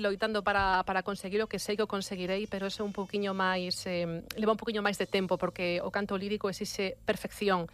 loitando para conseguir o que sei que o conseguirei, pero eso é un pouquiño máis leva un pouquiño máis de tempo, porque o canto lírico exixe perfección.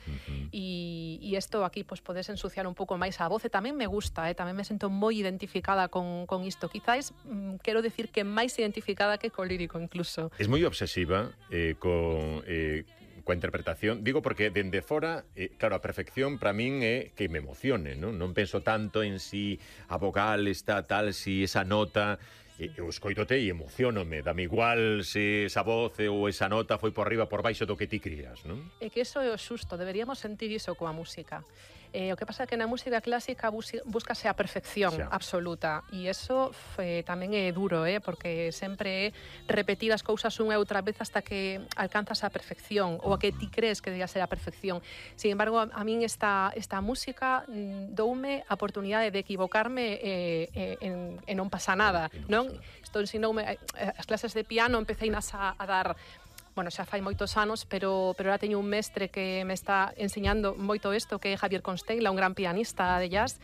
E isto aquí pois podes ensuciar un pouco máis a voz, e tamén me gusta, tamén me sinto moi identificada con isto. Quizás quero decir que máis identificada que co lírico incluso. Es moi obsesiva coa interpretación, digo porque dende fora, claro, a perfección para min é que me emocione, non penso tanto en si a vogal está tal, si esa nota, eu escoitote e emocionome, dame igual se esa voz ou esa nota foi por arriba, por baixo do que ti crías, non? É que iso é o xusto, deberíamos sentir iso coa música. O que pasa é que na música clásica búscase a perfección absoluta, e iso tamén é duro, porque sempre é repetir as cousas unha e outra vez hasta que alcanzas a perfección, ou a que ti crees que debía ser a perfección. Sin embargo, a min esta música doume a oportunidade de equivocarme e non pasa nada, non? Isto ensinoume, as clases de piano empecéinas a dar... Bueno, xa fai moitos anos, pero ahora teño un mestre que me está enseñando moito isto, que é Javier Constella, un gran pianista de jazz,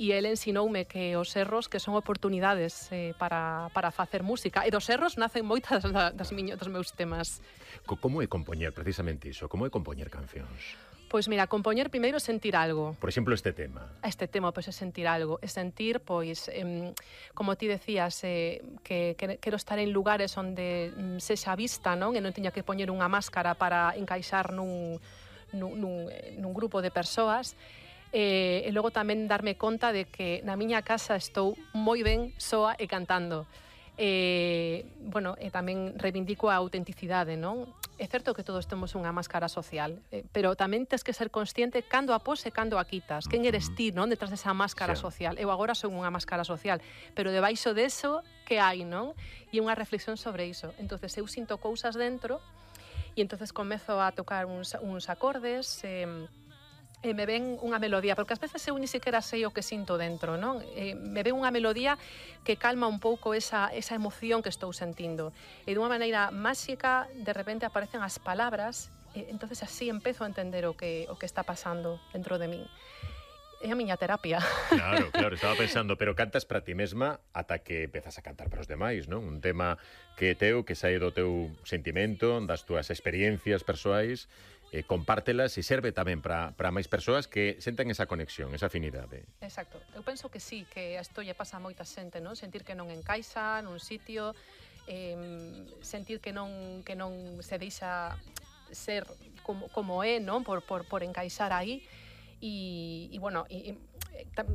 e ele ensinoume que os erros que son oportunidades para facer música, e dos erros nacen moitas dos meus temas. Como é compoñer precisamente iso? Como é compoñer cancións? Pois mira, compoñer primeiro sentir algo. Por exemplo, este tema. Este tema, pois, é sentir algo. É sentir, pois, como ti decías, que quero estar en lugares onde sexa vista, non? E non teña que poñer unha máscara para encaixar nun grupo de persoas. E logo tamén darme conta de que na miña casa estou moi ben soa e cantando. Bueno, e tamén reivindico a autenticidade, non? É certo que todos temos unha máscara social, pero tamén tens que ser consciente cando a pos e cando a quitas. Quen eres ti, non? Detrás desa máscara social. Eu agora son unha máscara social, pero debaixo deso, que hai, non? E unha reflexión sobre iso. Entonces eu sinto cousas dentro e entonces comezo a tocar uns acordes, e me ven unha melodía, porque ás veces eu ni siquiera sei o que sinto dentro, non? Me ven unha melodía que calma un pouco esa emoción que estou sentindo. E dunha maneira máxica, de repente aparecen as palabras, e entonces así empezo a entender o que está pasando dentro de min. É a miña terapia. Claro, estaba pensando, pero cantas para ti mesma ata que empezas a cantar para os demais, non? Un tema que é teu, que sae do teu sentimento, das túas experiencias persoais, compártelas e serve tamén para máis persoas que senten esa conexión, esa afinidade. Exacto. Eu penso que sí, que isto lle pasa a moita xente, non? Sentir que non encaixa nun sitio, sentir que non se deixa ser como é, non? Por encaixar aí. E bueno,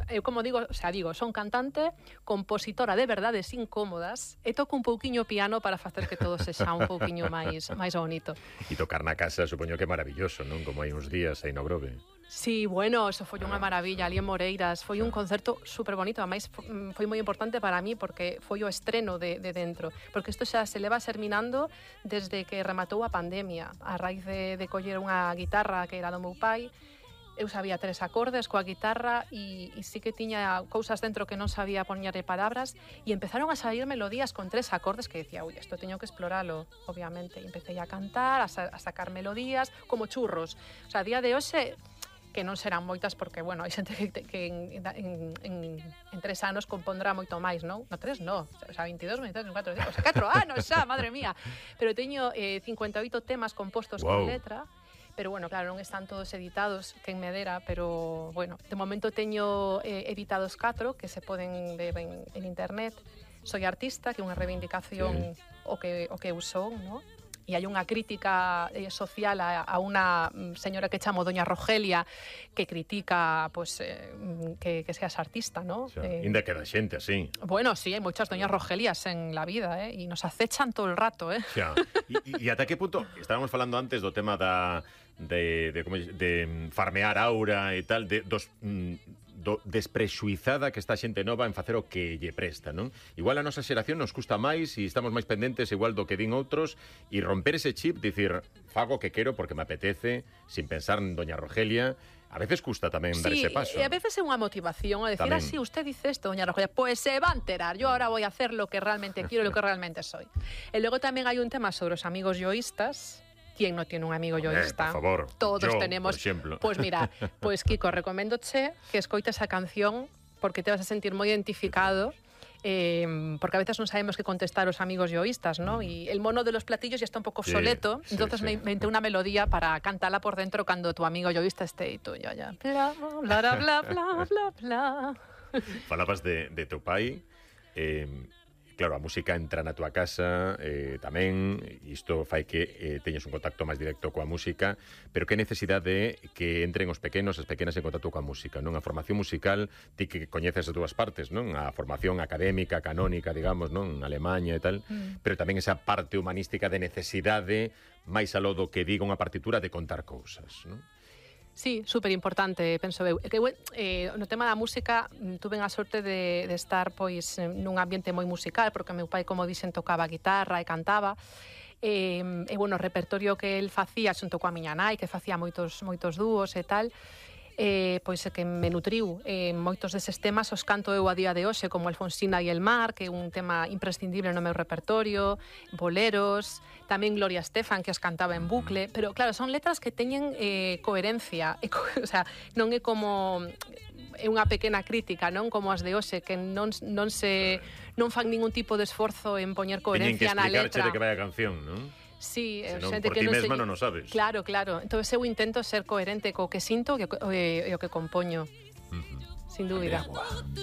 eu como digo, son cantante, compositora de verdades incómodas, e toco un pouquiño piano para facer que todo sexa un pouquiño máis bonito. E tocar na casa, supoño que é maravilloso, non? Como hai uns días aí no Grove. Sí, bueno, eso foi unha maravilla, ali en Moreiras, foi un concerto super bonito, ademais foi moi importante para mí porque foi o estreno de dentro, porque isto xa se leva serminando desde que rematou a pandemia, a raíz de coller unha guitarra que era do meu pai. Eu sabía 3 acordes coa guitarra e sí que tiña cousas dentro que non sabía poñerle palabras, e empezaron a sair melodías con 3 acordes que decía, ui, isto teño que exploralo, obviamente. E empecé a cantar, a sacar melodías como churros. O sea, a día de hoxe, que non serán moitas porque, bueno, hai xente que en 3 anos compondrá moito máis, non? No, 3 no, o sea, 22, 23, 24, o sea, 4 anos xa, madre mía. Pero teño 58 temas compostos con letra. Pero bueno, claro, non están todos editados, quen me dera, pero bueno, de momento teño editados 4 que se poden ver en internet. Soy artista, que é unha reivindicación o que eu son, ¿no? E hai unha crítica social a unha señora que chamo Doña Rogelia, que critica pues, que seas artista, ¿no? Inda queda xente así. Bueno, sí, hai moitas Doñas Rogelias en la vida, e nos acechan todo el rato, E ata que punto, estábamos falando antes do tema de farmear aura e tal, desprexuizada que está xente nova en facer o que lle presta, non? Igual a nosa xeración nos custa máis e estamos máis pendentes igual do que din outros, e romper ese chip, dicir, fago o que quero porque me apetece, sin pensar en Doña Rogelia. A veces custa tamén dar ese paso. Sí, e a veces é unha motivación a decir, así, usted dice esto, Doña Rogelia, pues se va a enterar, yo ahora voy a hacer lo que realmente quiero, lo que realmente soy. E logo tamén hai un tema sobre os amigos yoístas. ¿Quién no tiene un amigo yoísta? Por favor, todos yo, tenemos. Por exemplo. Pues mira, pues Kiko, recoméndoche que escoites a canción porque te vas a sentir moi identificado. porque a veces non sabemos que contestar os amigos yoístas, ¿no? Y el mono de los platillos ya está un pouco obsoleto, entonces me inventé una melodía para cantarla por dentro cando tu amigo yoísta esté y tú ya. Bla, bla, bla, bla, bla, bla. Falabas de teu pai, claro, a música entra na túa casa tamén, isto fai que teñas un contacto máis directo coa música, pero que necesidade que entren os pequenos, as pequenas en contacto coa música, non? A formación musical, ti que coñeces as dúas partes, non? A formación académica, canónica, digamos, non? En Alemanha e tal, pero tamén esa parte humanística de necesidade, máis aló do que diga unha partitura, de contar cousas, non? Sí, super importante, penso eu. Que, no tema da música, tuve a sorte de estar pois nun ambiente moi musical, porque meu pai, como dixen, tocaba guitarra e cantaba. E bueno, o repertorio que el facía xunto coa miña nai, que facía moitos dúos e tal, pois que me nutriu. Moitos deses temas os canto eu a día de hoxe, como Alfonsina e el mar, que é un tema imprescindible no meu repertorio, boleros, tamén Gloria Estefan, que os cantaba en bucle, pero claro, son letras que teñen coherencia, o sea, non é como é unha pequena crítica, non como as de hoxe, que non fan ningún tipo de esforzo en poñer coherencia na letra. Teñen que explicarche de que vai a canción, non? Sí, senón por ti mesma non o sabes. Claro. Entón eu intento ser coherente co que sinto e o que compoño. Sin dúbida.